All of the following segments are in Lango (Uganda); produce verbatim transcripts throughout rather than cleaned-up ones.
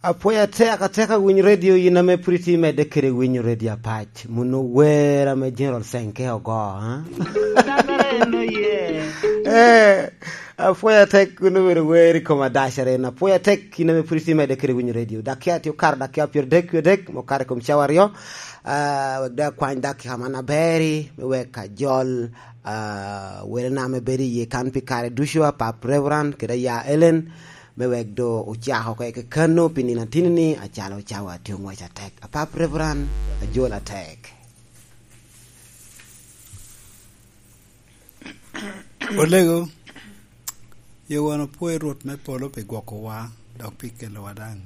Apwoyo atek atek awiny redio, in ame pwod itye medde kede winyo redio apac, muno wer ame General Senke ogo, ha? Dagere en oye. Eh, apwoyo atek kun obedo wer i kom adacere. Apwoyo atek in ame pwod itye medde kede winyo redio. Dakia tye okaro dakia pyeradek wie adek, ma okato i kom cawa aryo. Ah, wek daŋ akwany dakika man aber-ri, me wek ajol, ah, welona ame bedo iye kan pi kare ducu, Apap Reverend kede Aya Ellen, me wek do ocako oko i kakano pi nino atini-ni, acalo cawa tye oŋwec atek. Apap Reverend, ajol atek. Olego, ye wan opwoyo Rwot me polo pi gwokowa, dok pi kelowa daŋ.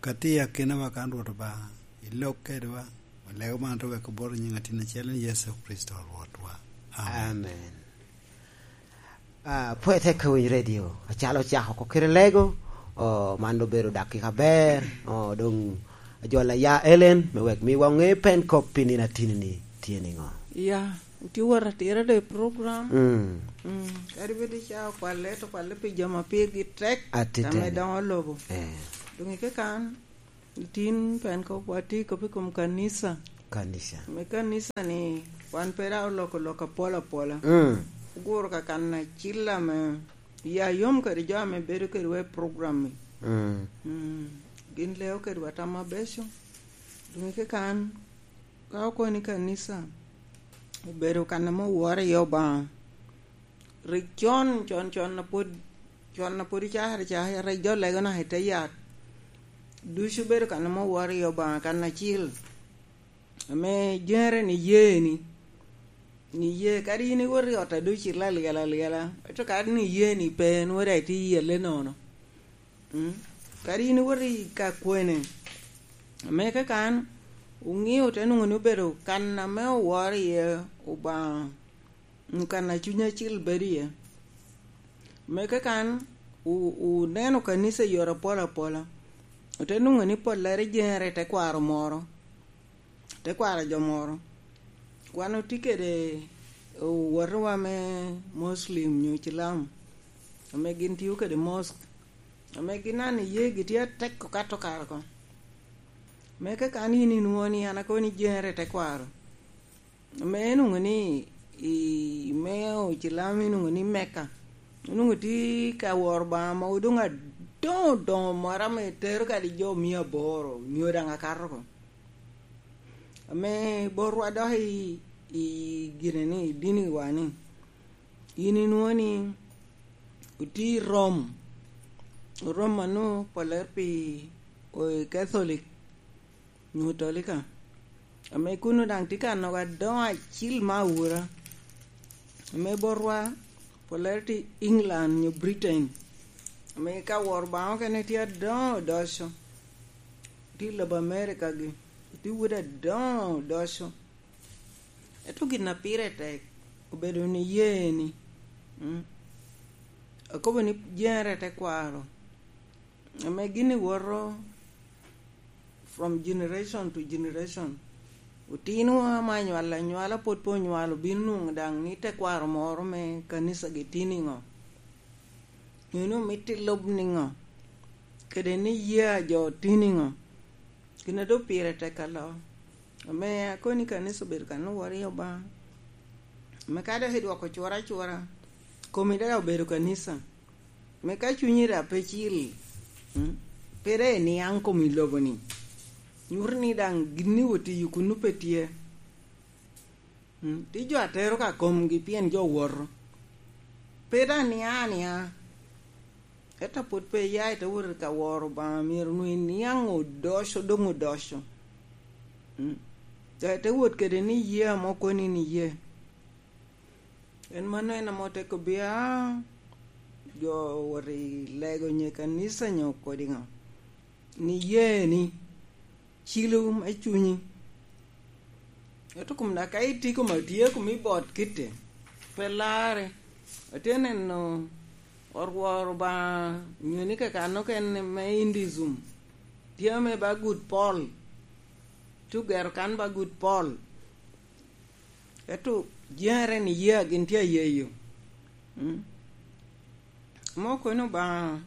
Ka tye i akinawa kan, Rwot Obaŋa, ilok kedwa, olego man to wek obot i nyiŋ atin acel ni Yecu Kricito Rwotwa. Amen. Amen. Ah, pwod tek ka winyo redio, acalo ocako oko kede lego, oh, man obedo dakika aber, oh, doŋ ajwal Aya Ellen, me wek miwa ŋe pen kop pi nino atini-ni tye niŋo. Ya, tye wot atira do i program. Mm. Mm, kadi bed ica okwalle, to okwalle pi jo ma pirgi tek, atiteni, ame doŋo lobo. Eh. Doŋ i kekan, itin pen kop, watye kop i kom kanisa. Kanisa. Me kanisa-ni, wan pe daŋ oloko lok apol apola. Mm. Oguro ka kan acil ame ya yom kede jo ame bedo kedwa i program-mi. Mm. Mm. Gin leo kedwa tam abeco. Doŋ i kekan, ka okoni kanisa obedo kan ame oworo iye Obaŋa, rik con, con, con a pwod, con a pwod icakere caka, rik jo lego naka i te yat. Ducu bedo kan ame oworo iye Obaŋa kan acil. Ame jere ni ye ni, ni ye, kadi in iwot i ot a doŋ ocito alyel alyela, ento kadi ni ye ni pe, nwoŋo daŋ itye yelle nono. Mm. Kadi in iwot i ka kwene, ame kakan oŋeo te nwoŋo ni obedo kan ame oworo iye Obaŋa, mm, kan a Cuny Acil bedo iye. Me kakan, wu-, wuneno kanisa i yore apol apola, ote nwoŋo ni pollere jere i tekwaro moro, tekwaro jo moro. Wan otye kede owotewa me Muslim nyo Cilam, ame gin tio kede mosque, ame gin an iye gitye atek okato kare oko. Me kakan in inwoŋo ni an akobo ni jere i tekwaro. Ame inwoŋo ni i me Ocilam inwoŋo ni Mecca, onwoŋo tye ka woro Obaŋa mogo doŋ adoŋo doŋo moro ame tero kadi jo mia aboro, nyo daŋ akato oko. Ame botwa dok i, i gine ni, i dini wa ni, in inwoŋo ni otye i Rom, Rom a nwoŋo pollere pi o-, Catholic nyo Katolika, ame kun daŋ tye ka nogo adoŋo acil me awura, ame botwa pollere tye England nyo Britain, ame ka woro Obaŋa okene tye adoŋo odoco, tye i lobo America-gi, tye wode adoŋo odoco. Ento gin a pire tek obedo ni ye ni, mm, akobo ni jere i tekwaro, ame gin iwoto from generation to generation. Otinwa ame anywalo anywala pwod pe onywalo, obino nwoŋo daŋ ni tekwaro moro me kanisa gi tye niŋo? Nyo ni omito ilub niŋo? Kede ni ye a jo tye niŋo? Gin a doŋ pire tek alo. Ame akoni kanisa obedo kan oworo iye Obaŋa. Ame ka dok idwoko cura acura, komi daŋ obedo kanisa. Me ka cunyi daŋ pe cil, mm, pe daŋ iniaŋ kom i lobo-ni, nyuto ni daŋ gin ni otiyo kunnu pe tye. Mm, tye jo a tero ka komgi pien jo woto. Pe daŋ nia ania. Ento pwod pe iya i te wot i ka woro Obaŋa, myero onwoŋo iniaŋ odoco, doŋ odoco. Mm. Te, te wot kede ni ye ame okoni ni ye. En mano en ame ote kobbi, "Ah, jo owot i lego nye kanisa nyo kodi ŋo?" Ni ye ni, cilo me cunyi. Ento kom da ka itye kom atye kom i bot kitte, pe larre. Atye neno orwor Obaŋa nyo ni kakano ken me Hinduism. Tye ame ba gut pol. Tye ogero kan ba gut pol. Ento jere ni ye a gin tye ayeyo. Mm. Mo kono Obaŋa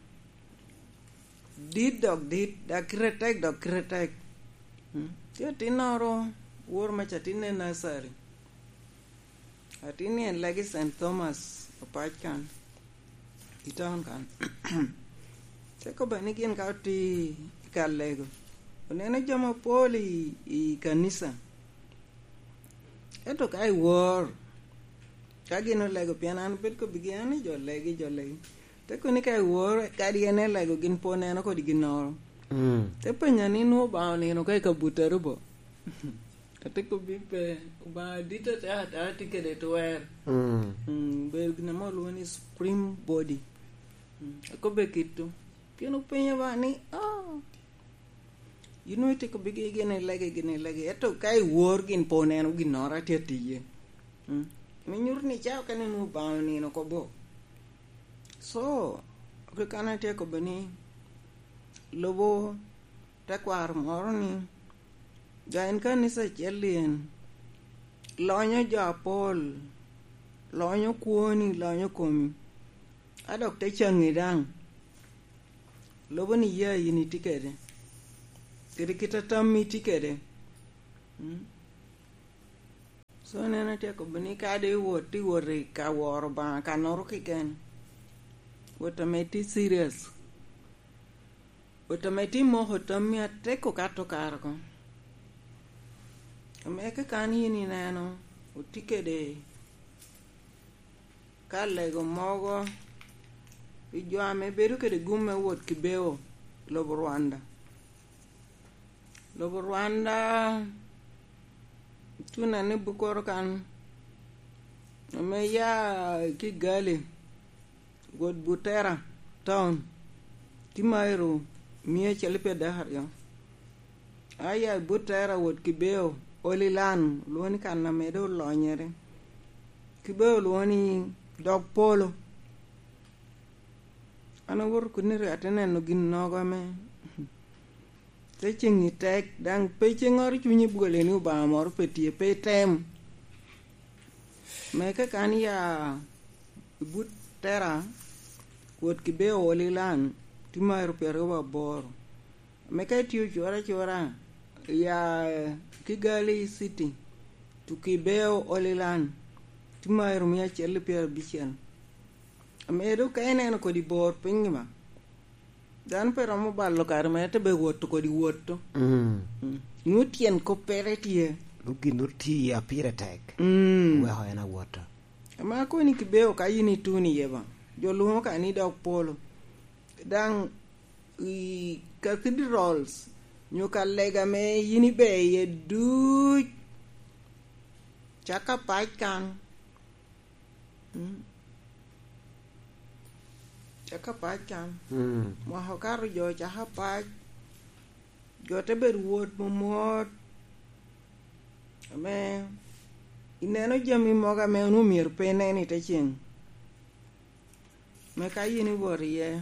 Dit dok dit, dok kite tek dok kite tek. Mm. Tye atinnoro, woro maca atinne nursery. Atinni en lagi Saint Thomas opac kan, i town kan. Te kobba ni gin ka otye i ka lego, oneno jo mapol i, i kanisa. Ento ka i wor, ka gin olego, pien an obed kobbigi, an ni jo legi, jo legi. Te kono ni ka i wor, kadi en elego, gin pe oneno kodi ginnoro. Mm. Te penya ni, "Nwoŋo Obaŋa onino ka i kabuta rubo?" Ate kobbi pe, Obaŋa dit ata, ata tye kede twer. Mm. Mm, bedo gin ame olwoŋo ni supreme body. Mm, akobbe kito. Pien openya ba ni, "Ah, yin nwoŋo itye kobbi gi gin ilege, gin ilege." Ento ka i wor gin pe oneno ginnoro atye atiye. Mm. Me nyuto ni cawa okene nwoŋo Obaŋa onino oko bo. So, rik an atye kobbe ni, lobo tekwaro moro ni, ja en kanisa acel en, lonyo jo apol, lonyo kwoni, lonyo komi, a dok te caŋi daŋ. Lobo ni ya yin itye kede, kede kit a tammi tye kede. Mm. So, en atye kobo ni kadi iwot, iwot i ka woro Obaŋa, kannoro keken, wot ame tye serious, wot ame tye moko tammi atek okato kare oko. Ame ka kan yin ineno, otye kede ka lego mogo pi jo ame bedo kede gum me wot Kibeo, lobo Rwanda. Lobo Rwanda, tuna ni Bukoro kan, ame ya i Kigali, wot Butera town, tye mairo mia acel pyeraryo. Aya i Butera wot Kibeo, Olilan, olwoŋo ni kan ame doŋ olonyere. Kibeo olwoŋo ni dog polo. An awoto kuno rik ate neno ginnogo ame te ceŋ i tek, daŋ pe ceŋŋoro cunyi bwole ni Obaŋa moro pe tye, pe item. Me ka kan ya i but tera, wot Kibeo Olilan, tye mairo pyeraryo aboro. Ame ka itye ocura acura, ya Kigali City to Kibeo Olilan, tye mairo mia acel pyerabicel. Ame doŋ ka ineno kodi bor piny ba, dano pe romo balo kare mere te be woto kodi woto. Mm. Mm. Nwoŋo tyen koppere tye. Nwoŋo gin nwoŋo tye iye pire tek. Mm. Weko en awoto. Ame akoni Kibeo ka yin ituno iye ba, jo lwoŋo ka ni dog polo. Daŋ i cathedrals, nyo ka lega ame yin ibe iye duc, caka pac kan. Mm. Caka pac kan. Mm. Mwaka okato jo caka pac, jo te bedo wot momot. Ame ineno jami mogo ame onwoŋo myero pe inen i te ceŋ. Me ka yin iwot iye,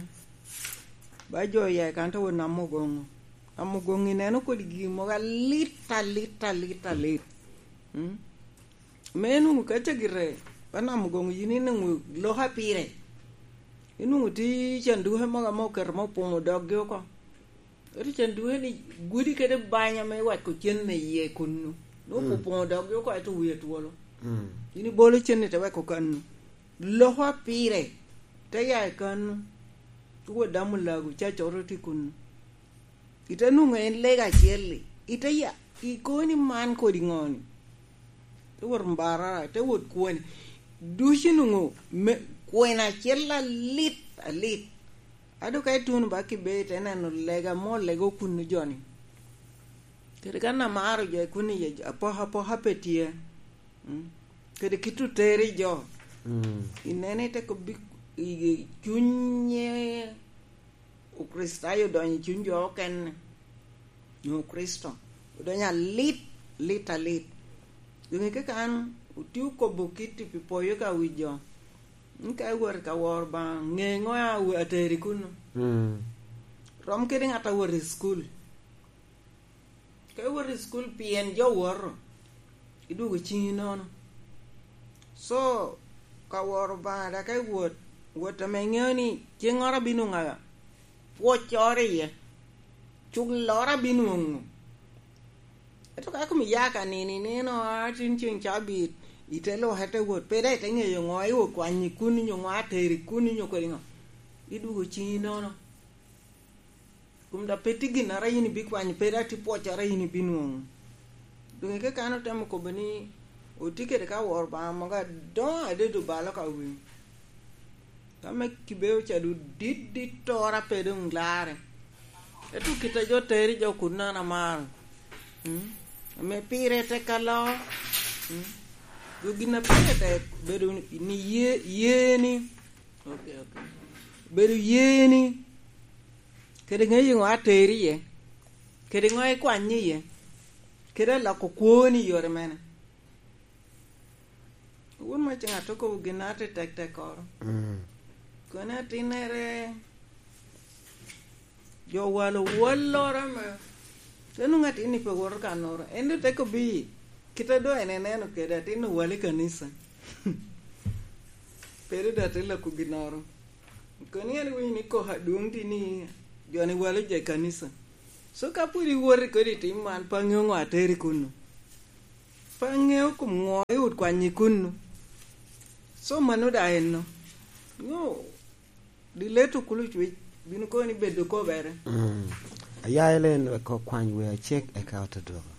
ba jo oya i kan te wot Namugongo. Namugongo ineno kodi gin mogo alit, alit, alit, alit. Mm? Me nwoŋo ka cagite, ba Namugongo yin inwoŋo loko pire. Inwoŋo tye canduke mogo ame oketo me opoŋo doggi oko. Ento canduke ni gudi kede banya me weko cen me iye kunnu. Nwoŋo Mm. opoŋo doggi oko, ento wie twolo. Mm. Yin ibolo cen-ni te weko kannu. Loko pire, te ya i kannu. Tugo damo lagu, cacoro tye kunnu. Ite nwoŋo en lega acel-li. Ite ya, ikobo ni man kodi ŋo-ni? Te wot Mbarara, te wot kwoni. Ducu nwoŋo me, kwena acel alit, alit. A doŋ ka ituno ba Kibee, ite neno lega mo, lega okunnu joni. Kede kan amaro jo i kunni, apokapoka pe tye. Mm. Kede kit oteri jo. Mm. Ineno ite kobbi, i, i cunye Okricitayo odonyo i cuny jo okene. Nyo Kricito odonyo alit, lit, alit. Doŋ ike kan otye okobo kit i pi poyo ka wi jo. Ni ka iwot i ka woro Obaŋa, ŋe ŋo a ateri kunnu. Mm. Rom kede ŋat a wot i cukul. Ka iwot i cukul, pien jo woto, idwogo ciŋi nono. So, ka woro Obaŋa, dok ka iwot, wot ame iŋeo ni ceŋŋoro abino ŋaga. pwoccoro iye, culloro abinwoŋo. Ento ka kom iya ka nino, ineno, a, tin ceŋ cabit, ite lok, ite wot, pe daŋ ite ŋeyo ŋo, iwot kwanyo i kun, nyo ŋo ateri kun, nyo kodi ŋo, idwogo ciŋi nono. Kun daŋ pe tye ginnoro a yin ibikwanyo, pe daŋ tye pwoccoro a yin ibinwoŋo. Doŋ i kekano otemo kobo ni, otye kede ka woro Obaŋa mogo adoŋo adede obalo ka winy. Ka me kibeo ca doŋ dit, dit tora pe doŋ larre. Ento kit a jo teri jo kun an amaro. Mm? Ame pire tek aloo. Mm? Jo gin a pire tek bedo ni ye, yeni. Ok, ok. Bedo yeni. Kede ŋeyo ŋo ateri iye. Kede ŋo ikwany iye. Kede aloko kwoni i yore mene. Wun ma ce ŋat okobo gin a tye tek tek oro. Mm. Kono atinnere, jo walo walloro ame. Te nwoŋo atin ni pe woto ka noro. En doŋ te kobbi, kit a doŋ en eneno kede, atin owalo i kanisa. Pe doŋ atin lako ginnoro. Kono en iwinyo ni koko adwoŋ tye ni jo ni walo jo i kanisa. So ka pwod iwoti kodi i tim man, pe aŋeo ŋo ateri kunnu. Pe aŋeo kom ŋo i ot kwanyi kunnu. So mano daŋ enno. Nyo, dileto kulu cwic, bino kono ni bedo kobere. Mm. Aya Elen wek okwany wer acek eka ote dwogo.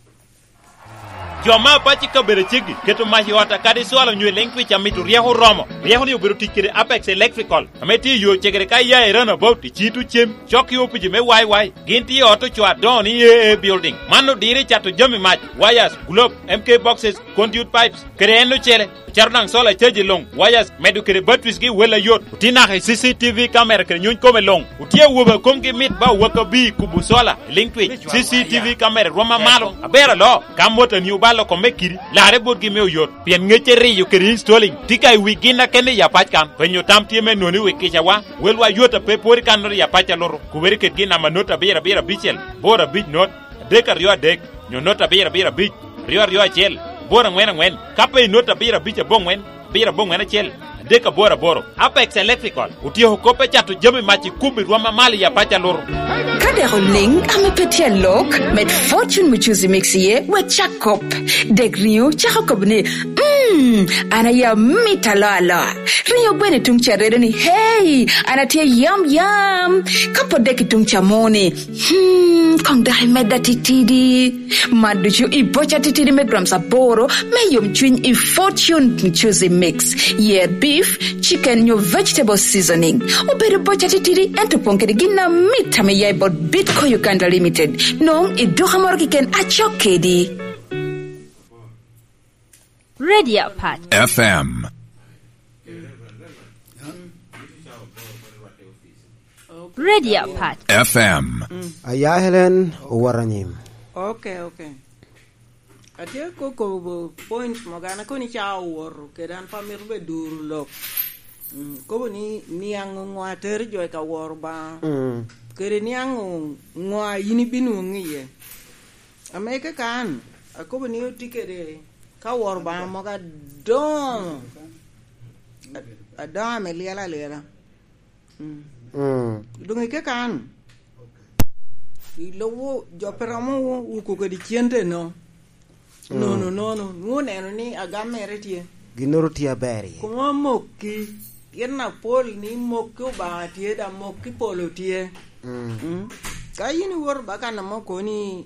Jo me apac i kabedo aceggi keto mac i ot akadi cwalo onyo i liŋ twic amito ryeko oromo. Ryeko-ni obedo tic kede Apex Electrical, ame tye i yo cegere ka iya i Runabout, i Cito Cem, cok i opici me Y Y. Gin tye i ot ocoo adoŋo ni A A Building. Man odiro i cato jami mac, wires, globe, M K boxes, conduit pipes, kede en ocele. Ocato daŋ solar charge luŋ, wires, medo kede batteries gi wel ayot. Otye naka i C C T V camera kede nyuny kome luŋ. Otye awobe a komgi mit ba owak abir kubo solar i liŋ twic. C C T V camera rwom amalo, aber aloo. Ka motani obalo kome kidi, larre botgi me oyot. Pien ŋecce riyo kede installing tye ka i wi gin akene i apac kan. Penyo tam tye me noni wi kicawa. Welwa yot a pe pwod i kannoro i apac alutu. Kubere kedgi i namba not abiro abiro abicel, boro abic not, adek aryo adek, nyo not abiro abiro abic, aryo aryo acel, boro aŋwen aŋwen. Ka pe i not abiro abic aboŋwen, abiro aboŋwen acel, adek aboro aboro. Apex Electrical otyeko kop me cato jami mac i kubbi rwom amalo i apac alutu. Ka dek oliŋ ame pe tye alok, med Fortune Muchuzi Mix iye, wek cak kop. Dek riŋo cako kop ni, "Mm, an aye amit aloa aloa." Riŋo gweno i tuŋ ca redo ni, "Hey, an atye yam yam." Ka pwod dek i tuŋ ca moni, "Hmm, koŋ dok imedda titidi." Man ducu i boca titidi me grams aboro me yomcwiny i Fortune Muchuzi Mix. Yer beef, chicken nyo vegetable seasoning. Obedo boca titidi, ento opoŋ kede gin amit ame ya i bot Bitco Uganda Limited. Nwoŋo i duka moro keken acok kedi. Radio Apac. F M. Radio Apac. F M. Aya Helen, owot anyim. Ok, ok. Atye ko-, kobo point mogo, an akoni ca owoto, kede an pe amito be duro lok. Mm, kobo ni niaŋ oŋo atero jo i ka woro Obaŋa. Mm. Kede niaŋ oŋo a yin ibinwoŋo iye. Ame kaka an, akobo ni otye kede ka woro Obaŋa mogo adoŋo, ad-, adoŋo ame lyel alyela. Mm. Mm. Doŋ i kaka an, i lobo jo pe romo wuko kede cente no. Mm. Nono, nono, nwoŋo oneno ni agam mere tye. Ginnoro tye aber iye. Komo mokki, pien apol ni mokki Obaŋa tye, da mokki polo tye. Mm. Mm. Ka yin iwoto ba kan amo koni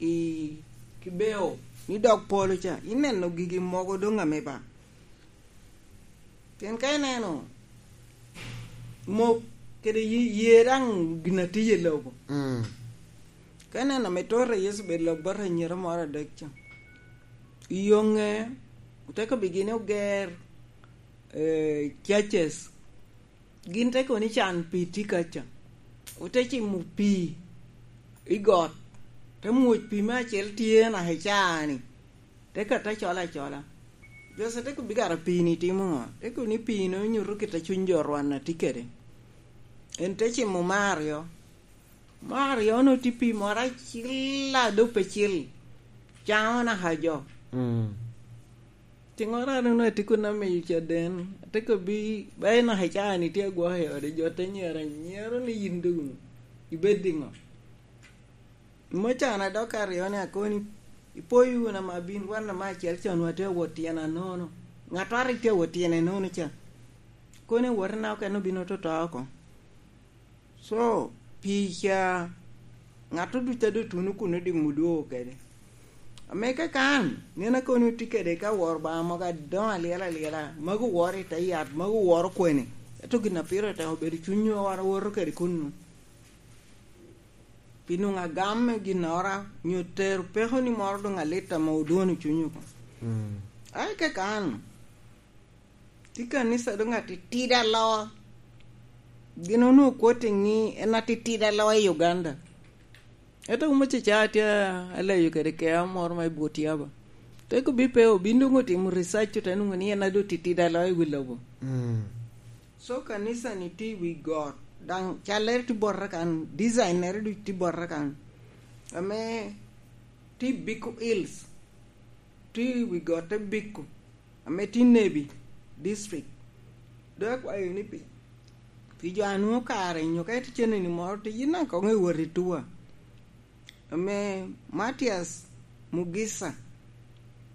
i Kibeo, ni dog polo ca, ineno gigi mogo doŋ ame ba. Pien ka ineno mok kede ye, ye daŋ gin atiye i lobo. Mm. Ka ineno ame tota Yecu bed lok bot anyira moro adek ca, i yoŋe, oteko bigini oger, eh, churches. Gin te kono ni can pi tye kaca. Ote cimo pii i got. Te mwoc pii me acel tye naka i caa-ni. Te kata cola acola. Jose te kobbi kara pii-ni timo ŋo? Te kono ni pii-ni onyuto kit a cuny jo Rwanda tye kede. En te cimo me aryo. Me aryo-nu tye pii moro acil a dope cil. Caŋo naka jo. Mm. Tiŋo rano na tye kun amiyo caden, ate kobbi, ba inaka i caa-ni tye agwok i ode, jo te nyero anyero ni yin doŋ Ibed diŋo? Mocan a dok aryo ni akoni, ipoyo wunu ama bin wan ama acel con watye awot tyen anono. Ŋat a rik tye awot tyene nono ca, koni awot na okene obino toto oko. So, pi ca, ŋat ducu a doŋ tuno kun odimo odwogo kede. Ame kakan, nen akoni otye kede ka woro ba mogo adoŋo alyel alyela, mago woro i te yat, mago woro kwene. Ento gin a pire tek obedo cunywa wan owoto kede kunnu. Pi nwoŋo agam me ginnoro, nyo tero peko ni moro doŋ alit ame odwono cuny oko. Mm. Ae kakan, tye kanisa doŋ atitidi aloa. Gin onwoŋo kwot i ŋi en atitidi aloa i Uganda. Ento wun oceca atye aleyo kede kea moro ma i Butiaba. Te kobi pe obin doŋ otimo research, ote nwoŋo ni en adu titidi aloa i wi lobo. Mm. So kanisa ni tye i wi got, daŋ callere tye bote kan, designere ducu tye bote kan. Ame tye i Biko Hills, tye i wi got te Biko, ame tye i Nebi district. Doŋ akwayo ni pi, pi jo a nwoŋo kare nyo ka itye cenneni moro, ti yin daŋ koŋ iwot i tua. Ame Matias Mugisa,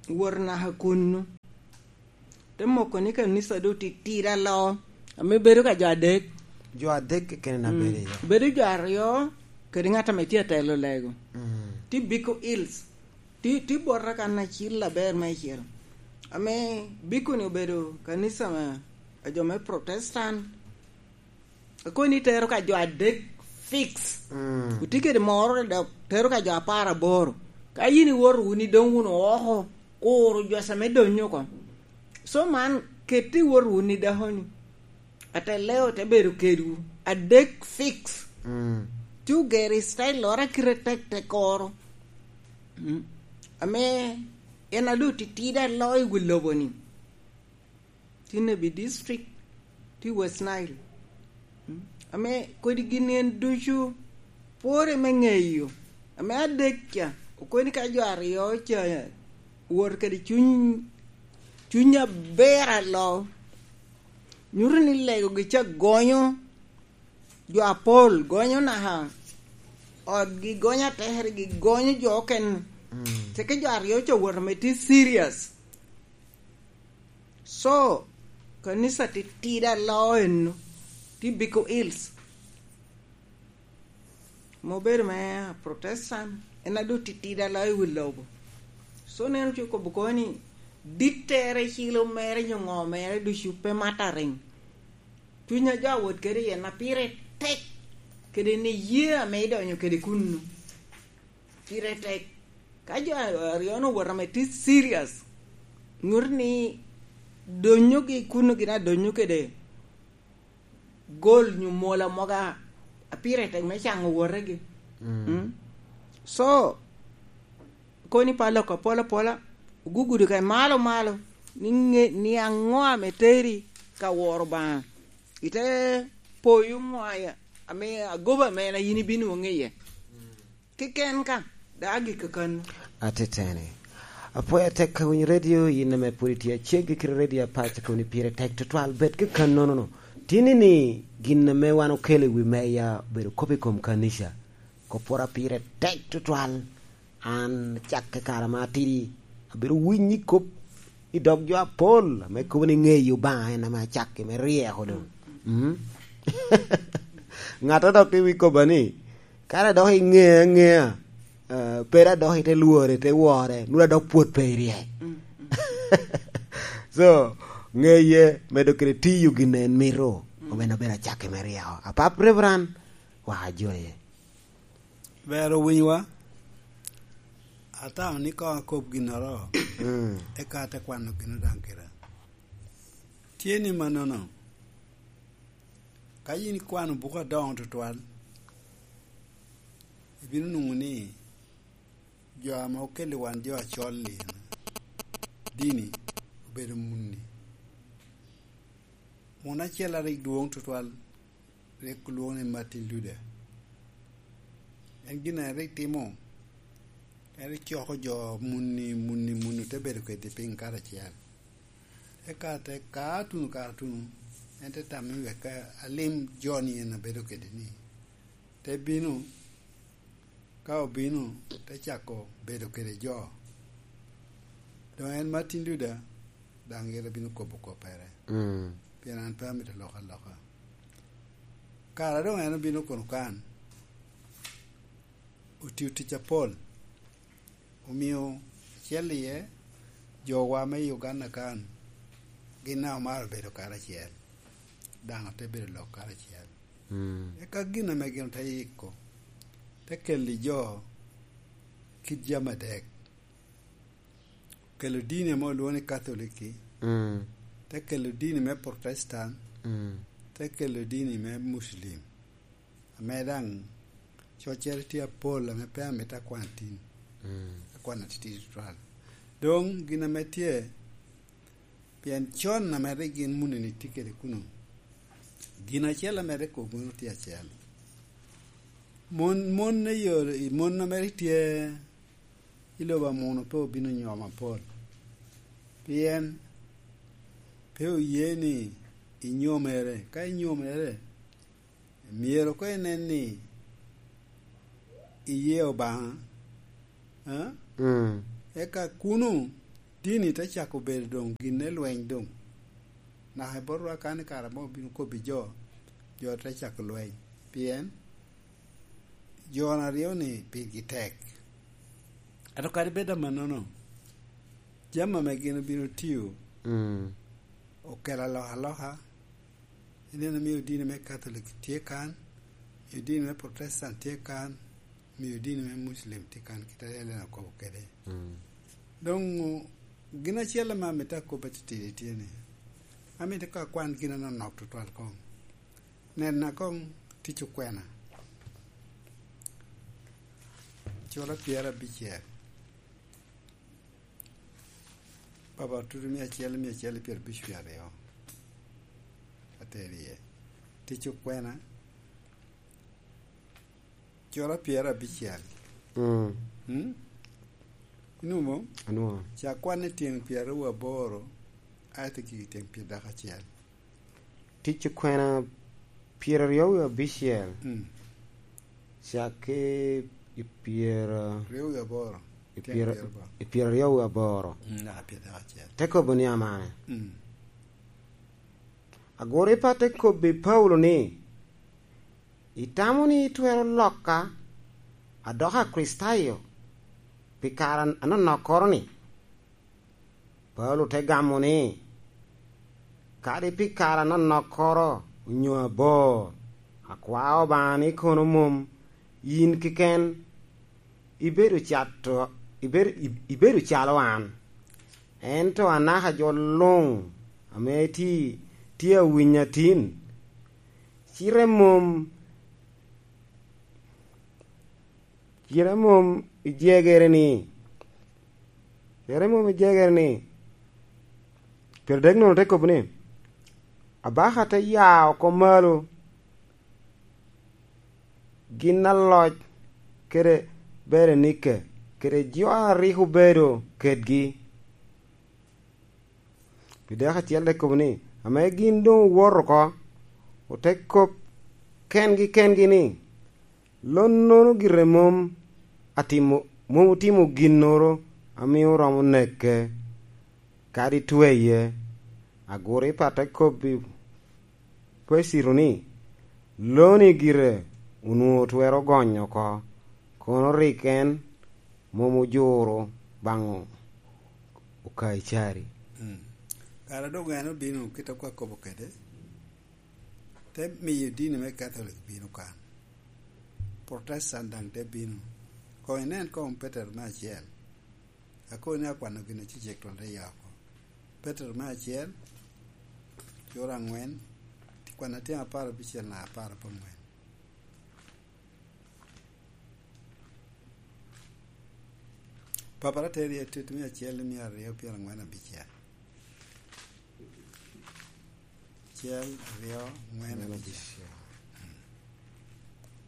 wot naka kunnu. Te moko ni kanisa doŋ titidi aloa, ame bedo ka jo adek. Jo adek keken na bedo iye. Bedo jo aryo, kede ŋat ame tye atelo lego. Mm. Tye Biko Hills. Tye, tye bote kan acil aber meicel. Ame Biko ni obedo kanisa me, a jo me Protestant. Akoni tero ka jo adek fix. Mm. Otye kede moro dok tero ka jo apar aboro. Ka yin iwoto wunu idoŋ wunu oko, kuro jo ame donyo oko. So man, kette iwoto wunu i dakoni. Ateleo te bedo kedwu. Adek fix. Mm. Ci ogero i style loro a kite tek tek oro. Mm. Ame en a doŋ titidi aloa i wi lobo ni. Tye Nebi District, tye West Nile. Mm. Ame kodi gin en ducu pwore me ŋeyo. Ame adek ca, okoni ka jo aryo ca wot kede cuny, cuny aber aloa, nyuto ni legogi ca gonyo jo apol, gonyo naka otgi, gonyo atekeregi, gonyo jo okene. Mm. Teke jo aryo ca wot ame tye serious. So, kanisa titidi aloa eno, tye Biko Hills. Ma obedo me Protestant, en a doŋ titidi aloa i wi lobo. So, neno ce okobo kono ni, dittere, cilo mere, nyo ŋo mere, ducu pe mattering. Cuny a jo awot kede iye na pire tek, kede ni ye ame idonyo kede kunnu. Pire tek. Ka jo aryo-nu owot ame tye serious, nyuto ni donyogi kunnu gin adonyo kede gol nyo mola mogo a, a pire tek me caŋo wotegi. Mm. Mm. So, koni pa lok apola apola, ogugudo ka malo malo, ni ŋe-, ni aŋo ame teri ka woro Obaŋa. Ite poyo ŋo a, ame agoba ame en a yin ibino nwoŋo iye. Keken ka, dok agikki kannu. Ateteni. Apwoyo atek ka winyo redio, yin ame pwod itye aceggi kede redio apac, kono pire tek tutwal, bed ki kannono. Tini ni, gin ame wan okelo i wi meya obedo kop i kom kanica. Kop pwod a pire tek tutwal. An cakke kare ma atidi, abedo winyo kop i dog jo apol, ame kobo ni ŋeyo Obaŋa en ame acakki me ryeko doŋ. Mm. Ŋat a dok i wi kobba ni, kara dok iŋea aŋea, eh, pera dok ite lwore, ite wore, nwoŋo adok pwod pe iryek. Mm, mm. So, ŋeye medo kede tiyo gin en mito, mm, omeno bedo acakki me ryeko. Apap Reverend, wa ajoye. Ber owinywa. Atamo ni koŋ akob ginnoro, mm, eka ate kwano gin daŋ kira. Tye ni mannono, ka yin ikwano buku adoŋo tutwal, ibino nwoŋo ni jo ame okelo i wan jo acol-li, dini obedo munni. Mun acel a rik dwoŋ tutwal, rik olwoŋo ni Martin Luther. En gin a rik timo, en rik coko jo munni, munni, munni, te bedo kwedgi piny karacel. Eka te ka tuno kare tuno, en te tamo ni wek alim jo-ni en abedo kwedgi ni, Te bino, ka obino, te cako bedo kede jo. Doŋ en Martin Luther, daŋ ite bino kobo koppere. Mm. Pien an pe amito lok aloka. Kara doŋ en obino kono kan, otio tic apol, omio acel iye jowa me i Uganda kan, gin daŋ omaro bedo karacel, daŋ ote bedo lok karacel. Mm. Eka gin ame gin ote yiko, te kelo i jo kit jami adek. Kelo dini ame olwoŋo ni Katholiki, mm, te kelo dini me Protestant, mm, te kelo dini me Muslim, ame daŋ coccere tye apol ame pe amito akwan tin, mm, akwan atitidi tutwal. Doŋ gin ame tye, pien con ame rik gin munini tye kede kuno, gin acel ame rik kobo tye acel. Mon, mon me yore, mon ame rik tye i lobo amuno pe obino nyom apol, pien pe oye ni inyomere. Ka inyomere, myero koŋ inen ni iye Obaŋa, a? Mm. Eka kuno dini te cako bedo doŋ gin me lweny doŋ. Naka i botwa kan i kare mo obino kobbi jo, jo te cako lweny. Pien jo aryo-ni pirgi tek. Ento kadi bed amannono, jami ame gin obino tio, mm, okelo alokaloka. Ineno, mio dini me Katholik tye kan, mio dini me Protestant tye kan, mio dini me Muslim tye kan, kit a Ellen okobo kede. Mm. Doŋ, gin acel ame amito akob atitidi tye ni, amito ka akwan gin anonok tutwal koŋ. Nena koŋ tic okwena. Cura pyerabicel. Papa tutu mia acel, mia acel i pyerabic wie aryo. Ateri iye. Tic okwena. Cura pyerabicel. Mm. Mm? Inwoŋo? Anwoŋo. Ca kwan i tyen pyeraryo aboro, aye te gik i tyen pyerdek acel. Tic okwena pyeraryo wie abicel. Mm. Cak ki i pyera-, ryo wie aboro, i tyen pyera-, pyeraboro, i pyeraryo wie aboro. Mm, naka pyerdek acel. Te kobo ni amane. Mm. Aguripa te kobbi Paulo ni, "Itamo ni itwero loka adoko Akricitayo pi kare anonokkoro-ni?" Paulo te gamo ni, "Kadi pi kare anonokkoro onyo abor, akwao Obaŋa ni kono mom yin keken ibedo cato, ibedo, ibedo calo an, ento anaka jo luŋ ame tye, tye awinyo atin, cite mom, cite mom ijegere ni, cite mom ijegere ni." Pyerdek nono te kobo ni, "Abaka te ya oko malo gin aloc kede Berenike kede jo a rik obedo kedgi." Pi dek acel te kobo ni, ame gin doŋ owoto oko, ote kop kengi kengi ni, "Lonnono gire mom atimo, mom otimo ginnoro a mio romo neke, kadi tweye." Aguripa te kobbi Pesito ni, "Loni gire onwoŋo twero gonyo oko, kono rik en mom ojuro baŋ Okaicari." Mm. Kara doŋ en obino kit a kwa kobo kede, te miyo dini me Katholik bino kan. Protestant daŋ te bino. Koŋ inen koŋ Petero me acel. Akobo ni akwano gin acecek twon te ya oko. Petero me acel, cura aŋwen, ti kwan atyen apar abicel na apar aboŋwen. Papara teri i Atit mia acel i mia aryo pyeraŋwen abicel. Acel, aryo, ŋwen, abicel.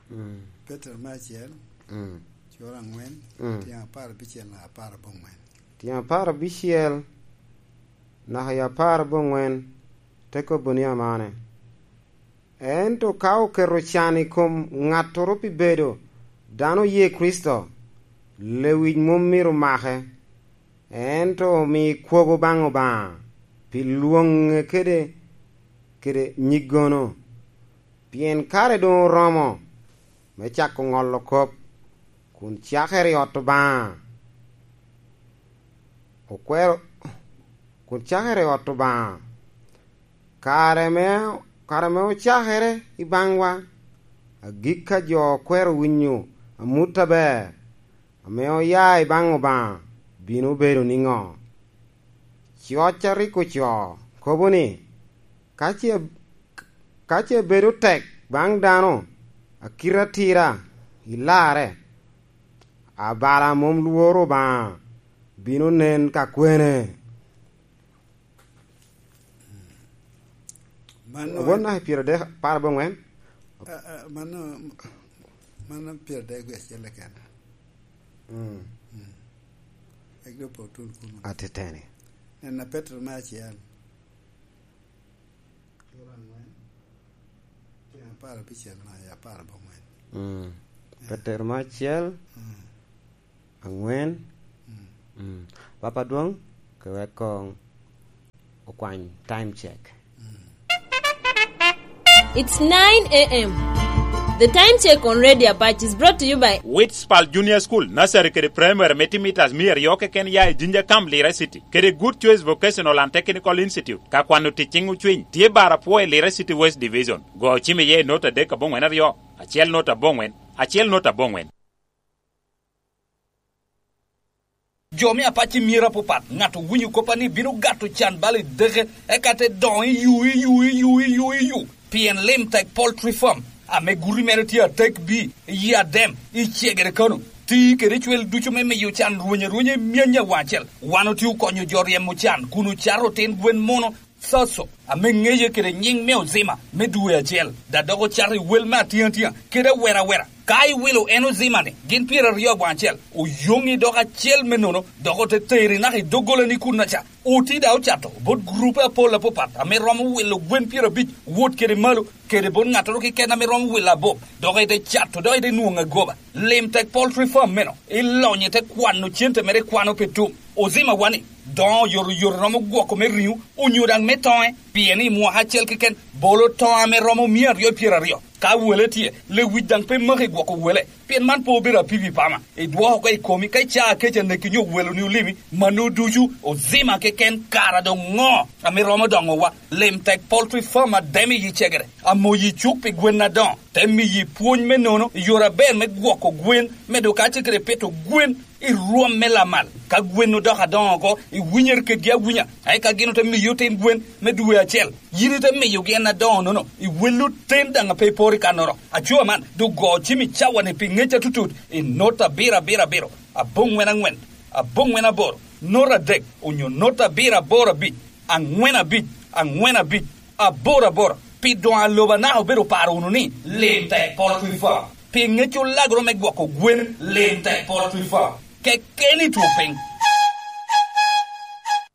Mm. Petero me acel, mm, cura aŋwen, mm, tyen apar abicel na apar aboŋwen. Tyen apar abicel naka i apar aboŋwen te kobo ni amane, Ento ka oketo can i kom ŋattoro pi bedo dano oye Kricito, lewic mom myero make, ento omi kwogo baŋ Obaŋa pi lwoŋe kede, kede nyiggono. Pien kare doŋ oromo me cako ŋolo kop, kun cakere i ot Obaŋa. Okwero, kun cakere i ot Obaŋa. Kare me, kare me ocakere i baŋwa, agikki a jo okwero winyo amut aber ame oya i baŋ Obaŋa bino bedo niŋo? Coc a rik ocoo kobo ni, "Ka ce, ka ce bedo tek baŋ dano a kite atira i larre, abala a mom lworo Obaŋa bino nen ka kwene." Mano Obon naka pyeradek, apar aboŋwen. A, a, mano, mano pyeradek wie acel keken. Mm. Mm. Egi doŋ pe otul kuno. Ateteni. Nena Petero me acel. Apar abicel na, ya apar aboŋwen. Mm. Eh. Petero me acel, Mm. aŋwen. Mm. Mm. Papa Dwoŋ, ke wek koŋ okwany time check. Mm. It's nine a m. The time check on Radio Apache is brought to you by Witspal Junior School, Nursery kede Primary me timitas mia aryo keken ya i Jinja Camp, Lira City, kede Good Choice Vocational and Technical Institute, ka kwano tic ciŋ ocwiny, tye bar apwo i Lira City West Division. Go ocim iye i nota adek aboŋwen aryo, acel nota aboŋwen, acel nota aboŋwen. Jo me Apac i myero apapat, ŋat owinyo koppa ni bino gato can bal i deke, eka te doŋo i yu, i yu, i yu, i yu, i yu. Pien Lim Tek Poultry Farm, ame guti mere tye atek bi, i Adem, i Cegere Kano, ti kede cwel ducu me miyo can rweny arwenya i myany awaŋ acel. Wan otye okonyo jo ryemo can, kun ocato otin gwen muno, Soso, ame ŋeye kede nyiŋ me Ozima me dwe acel, da dok ocato i wel me atiŋatia kede awera awera. Ka iwilo en Ozima-ni, gin pyeraryo aboŋo acel, oyoŋi dok acel me nono, dok ote teri naka i doggolani kunnaca. Oti da ocato bot gurupe apol apapat ame romo wilo gwen pyerabic wot kede malo, kede bot ŋattoro keken ame romo wilo abop, dok ite cato, dok ite nwoŋo agoba. Lim Tek Poultry Farm meno, ilonyo ite kwano cente mere ikwano pe tum. Ozima wani, doŋo oyotoyot romo gwoko me riŋo, onyo daŋ me toŋe, pien i mwaka acel keken, bolo toŋo ame romo mia aryo pyeraryo. Ka wele tye, lewic daŋ pe maki gwoko wele, pien man pe obedo apipi pama. Idwoko oko i komi, ka icaa kec aneki nyo weloni olimi, mano ducu, Ozima keken, kara doŋ ŋo ame romo doŋowa? Lim Tek Poultry Farm Adem i Cegere, amoyi cuk pi gwen adoŋo, te miyi pwony me nono i yore aber me gwoko gwen, medo kacel kede pito gwen i rwom me lamal. Ka gwen odoko adoŋo oko, iwinyere kedgi awinya, eka gin ote miyi otin gwen me dwe acel. Yin ite miyogi en adoŋo-nono, iwello ten daŋ a pe iporo i kannoro. Aco man, doŋ go cim i cawa-ni pi ŋec atutut, i nota abiro abiro abiro, aboŋwen aŋwen, aboŋwen aboro, nota adek, onyo nota abiro aboro abic, aŋwen abic, aŋwen abic, aboro aboro, pi doŋ a lobo anaka obedo paro wunu ni, Lim Tek Poultry Farm. Pi ŋec olagoro me gwoko gwen, Lim Tek Poultry Farm. Keken i two piny.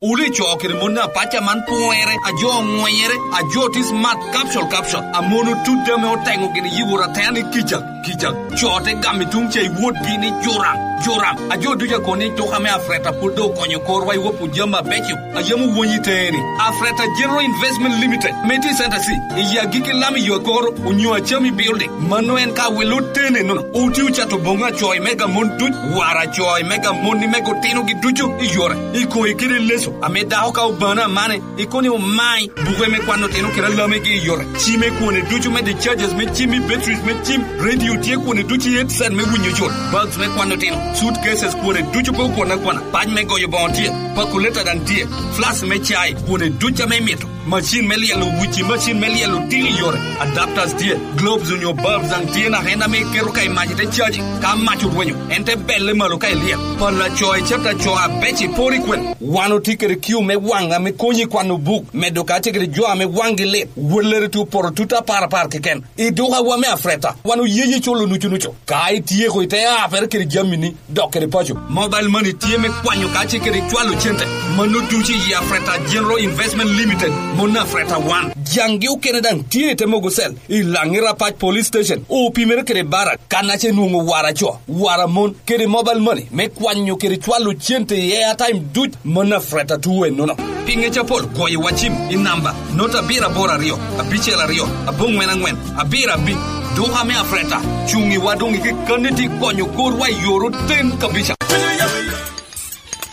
Wule co kede mon apac aman pwere, a jo oŋwenyere, a jo tye smart capsule, capsule, a mon otut ame oteŋo gini yiwor atera ni kica, kica. Co te gamo i tuŋ ca i wotgi ni joram, joram. A jo ducu a kono ni tuk ame Afreta pwod doŋ okonyo korwa i wopo jami abeco. A yam owony i teŋe ni, Afreta General Investment Limited, me tye i Center C, i agikki lam i yo akoro, onyo Achami Building. Mano en ka wilo tene nono. Oti ocato boŋo acoy mega mon duc, wara acoy mega mon ni mega otinogi ducu i yore. I koŋe kede leso, ame dako ka obano amane, i koni omai, buke me kwano tino kede alamegi i yore. Cime kwone ducu me the charges me cim i batteries me cim, radio tye kwone ducu i headset me winyo jol, bulbs me kwano tino, suitcases kwone ducu pe okwon akwana, pac me goyo boŋo tye, pakuleta daŋ tye, flask me cai, kwone ducu ame imito. Macin me lyelo wici, macin me lyelo tiki yore, adapters tye, globes onyo bulbs daŋ tye naka en ame iketo ka i mac ite caji. Ka mac orwenyo, en te belle malo ka ilyel. Pala co i chapter co abec i pori kwen. Wan otye kede kiu me waŋ ame konyi kwano buk, medo kacel kede jo ame waŋgi lit. Wellere tye opoto tut apar apar keken. I dukawa me Afreta, wan oyeyi culo nucu nucu. Ka ityeko ite apere kede jamini, dok kede paco. Mobile money tye me kwanyo kacel kede cwalo cente. Mano ducu i Afreta General Investment Limited. Mon Afreta wan, jaŋgi okene daŋ tye i te mogo cell i Laŋi Rapac Police Station, opimere kede Barak, kan ace nwoŋo wara co, wara mon, kede mobile money me kwanyo kede cwalo cente i airtime duc. Mon Afreta tuo ennono. Pi ŋec apol, goyo wa cim i namba not abiro aboro aryo, abicel aryo, aboŋwen aŋwen, abiro abic. Duka me Afreta, cuŋ i wa doŋ i kekkanni ti konyo korwa i yor oten kabica.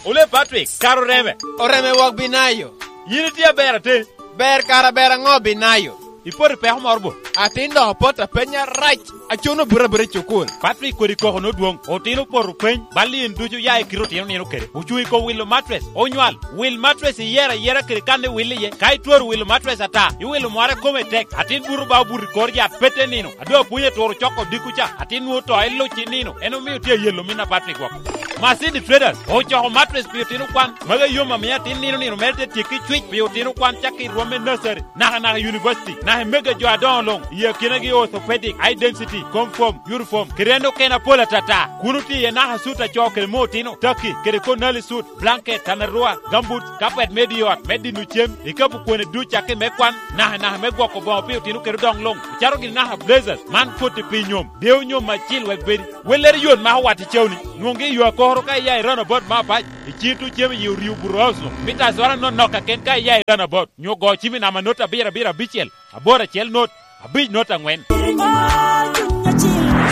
Ole Patrick, kara oreme. Oreme wok binayo. Yin itye aber ate? Ber kara ber aŋo binayo? Ipoto i peko moro bo? Atin dok apoto apenya rac, acono buto abuta i cukul. Patrick kodi koko nodwoŋ, otino opoto peny, bal in ducu ya i kite otino nino kede. Ocuŋ i kom wilo matres, onywal. Wil matres iyero ayera kede kan iwil iye. Ka itwero wilo matres ata, iwilo mware kome tek, atin buto ba obuto i kor yat pete nino. Ado apwony aturo coko dikku ca, atin nwoŋo to iluc i nino. En omio tye ayelo min a Patrick woko. Masidi Traders ocoko matres pi otino kwan. Magi yom amiyo atin nino nino mere te tyekki cwic pi otino kwan cakki i rwom me nursery, naka naka i university, naka i mega jo adoŋo luŋ, i akinagi orthopedic, high density, conform, uniform, kede en okene apol atata. Kun otye iye naka sut a co kede me otino, taki, kede konali sut, blanket, tanarua, gambut, kapet me di ot, me dino cem, ikapu kwone duc cakki me kwan, naka naka me gwoko boŋo pi otino kede odoŋ luŋ, acalo gin naka blazers, man koti pi nyom, deo nyom acil wek bedi. Wellere yot mako wat i cawni, nwoŋgi i yo akoro ka iya i roundabout me apac, i cito cem i orio Bureau House luŋ, mita azwara nonok kaken ka iya i roundabout, nyo go cim i namba not abiro abiro abicel, aboro acel not, abic not aŋwen.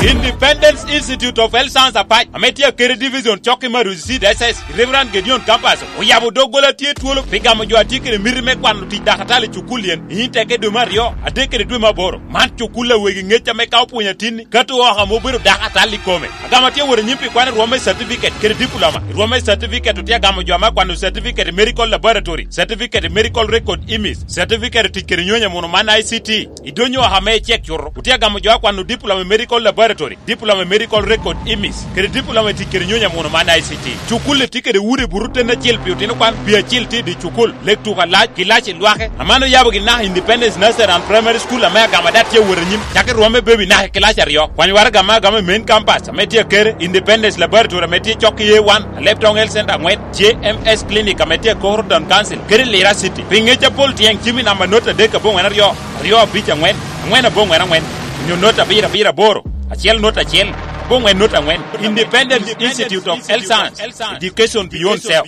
Independence Institute of Health Science Apac, ame tye akede division cok i Maruzi Seed S S, i Reverend Gideon Campus, oyabo doggola tye twolo pi gamo jo a tye kede miti me kwano tic dakatali i cukul yen, i nyim teke dwe me aryo, adek kede dwe me aboro. Man cukul a wegi ŋec ame ka opwonyo atinni, kato oko ame obedo dakatali i kome. Agamo tye wot anyim pi kwano rwom me certificate kede diploma. I rwom me certificate otye agamo jo ame akwano certificate i medical laboratory, certificate i medical record imis, certificate i tic kede nyonyo amuno man I C T. I donyo oko ame icek cuto, otye agamo jo akwano diploma i medical laboratory, diploma i medical record imis, kede diploma i tic kede nyonyo amuno man I C T. Cukul-li tye kede udi buto ten acel pi otino kwan, pi acil tye i dye cukul, lek tuko alac, kilaci lwake. Aman oyabo gin naka Independence Nursery and Primary School ame agamo ada tye awot anyim, cakki rwom me bebi naka i kilaci aryo. Kwany waraga ame agamo i main campus ame tye akere, Independence Laboratory ame tye cok i A one, Alebtong Health Center aŋwen, J M S Clinic ame tye akoro Town Council, kede Lira City. Pi ŋec apol tyeŋ cim i namba not adek aboŋwen aryo, aryo abic aŋwen, aŋwen aboŋwen aŋwen, onyo not abiro abiro aboro, acel not acel, aboŋwen not aŋwen. Independence Institute of Health Science, Education Beyond Self.